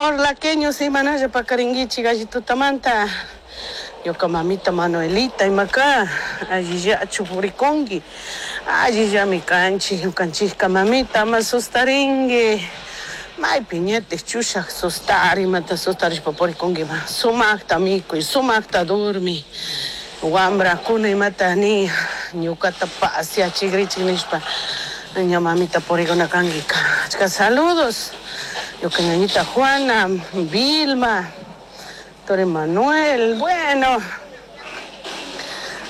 Orlaqueños imanalla pakarinkichik alli tutamanta. Ñuka mamita Manuelita imaka allillachu purikunki, allillami kanchik ñukanchikka mamita, ama sustarinki. Maypi ñatik chushak sustari, imata sustarishpa purikunkima. Sumakta mikuy, sumakta durmi. Wambrakuna imata ni ñukata pasiachikrichik nishpa ña mamita purikuna kankika. Achka saludos. Ñuka ñañita Juana, Vilma, Tore Manuel, bueno.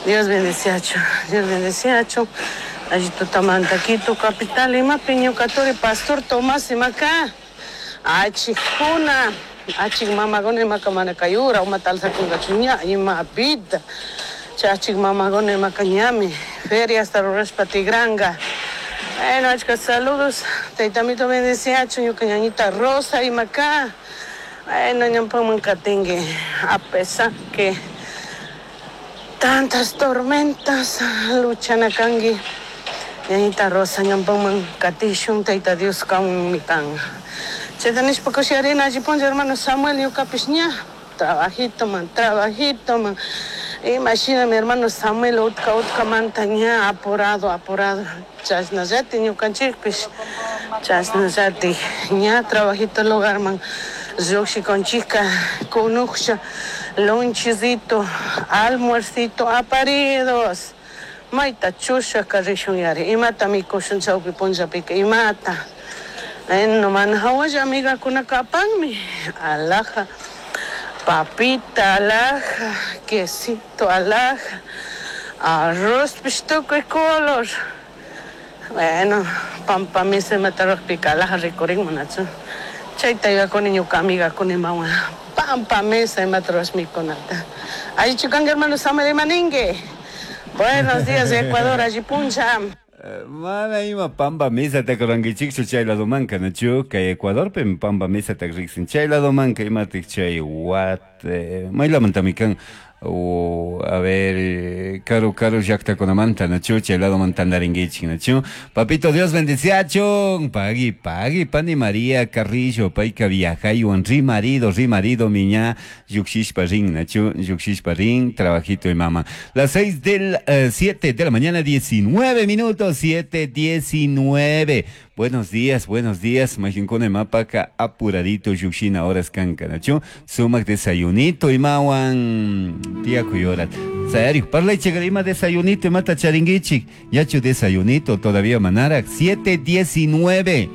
Dios bendeciacho, Dios bendeciacho. Allí tutamanta Quito capital imapi ñuka turi Pastor Tomás imaka. Achikuna, achik mamakuna imaka mana kayura umata alzakunkachu ña imapita. Chay achik mamakuna imaka ñami feria hasta rurashpa tigranka. Bueno, achka saludos. Taytamito bendeciacho ñuka ñañita Rosa imaka. Bueno, ñawpaman katinki a pesar que tantas tormentas luchana kanki. Ñañita Rosa ñawpaman katishun Tayta Dios kanmi kan. Chayta nishpa kushiarina alli punlla hermano Samuel ñukapish ña trabajito man, trabajito man. Imashina mi hermano Samuel utka utkamanta ña apurado, apurado. Chashnallati ñukanchikpish, chashnallati ña trabajito lugarman llukshikunchikka kunuksha lonchecito, almuercito aparidos. Mayta chushaka rishun yari, imata mikushun chawpi punllapika, imata. Bueno, mana hawalla amigakunaka apanmi, alhaja, papita, alhaja, quesito, alhaja, arroz pish tukuy color. Bueno, pampa misa imata rukpika alhaja rikurinman nachu. Chayta yuyakuni ñuka amigakuna imawan pampa mesa imata rurash mikunata. Allichu kanki hermano Samuel imaninki. Buenos días Ecuador, alli punlla. Mana ima pampa mesata rurankichikchu chay ladomanka, nachu? Kay Ecuadorpi pampa mesata riksin. Chay ladomanka imatik chay wat maylamantami kan o a ver karu karu llaktakunamanta, nachu? Chay ladoman tandarinkichik, nachu? Papito Dios bendiciachun. Pagui, pagui, pani María Carrillo, payka viajaywan rimarido, rimarido miña llukshishpa rin, nachu? Llukshishpa rin, trabajito y mama. Las 6 del 7 de la mañana, 19 minutos, 7:19. Buenos días, buenos días. Majinkuna mapaka apuradito llukshina horas kanka, nachu? Sumak desayunito imawan tía kuyorat. Serio, parlaychik ima desayunito imata charinguichik. Yachu desayunito todavía manarak. 7:19.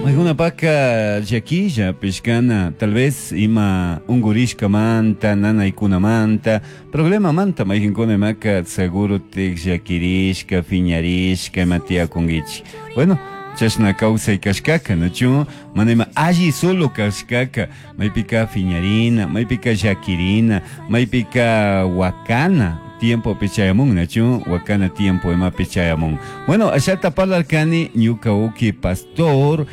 Alguna paca llaquilla, pescana, tal vez ima ungurishka manta, nana ikuna manta, problema manta, majinkuna maca seguro te llaquirishka, fiñarishka, matia kungichi. Bueno, chashna kawsay kashkaka, nachu? Mana ima alli solo kashkaka, maypika fiñarina, maypika llaquirina, maypika wakana. Tiempo pichayamun, nachu? Wakana tiempo ima pichayamun. Bueno, allá parlarkani, ñuka uki pastor,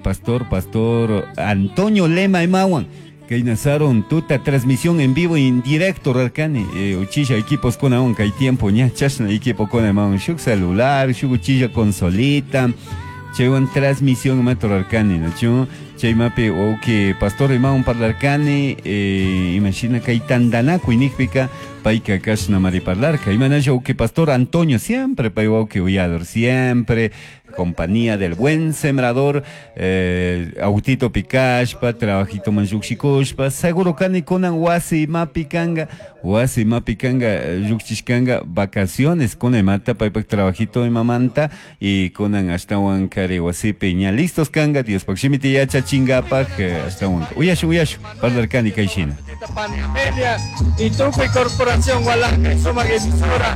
pastor, pastor Antonio Lema imawan. Kay nazaron tuta transmisión en vivo y en directo rarkani, uchilla equipos con aún kay tiempo ña chashna equipo con imawan, shuk celular, shuk uchilla consolita, chaywan transmisión ima rarkani, nachu? Chay mapi uki pastor imawan parlarkani, imagina kay tandanakuy nikpika payka kashna mari parlarka. Imanalla uki pastor Antonio siempre pay uki uyador, siempre compañía del buen sembrador, autito pikashpa, trabajito manllukshikuspa, seguro kani kunan wasi mapi kanga, wasi mapi kanga, llukshishkanga, vacaciones kuna imata, paypak trabajito imamanta, y kunan ashtawan kari wasipi ña listos kanga, Diospak shimiti yachachingapak, ashtawan, uyashu, uyashu, parlarkani kay shina. Y Tupi Corporación Gualanca, sumak emisora.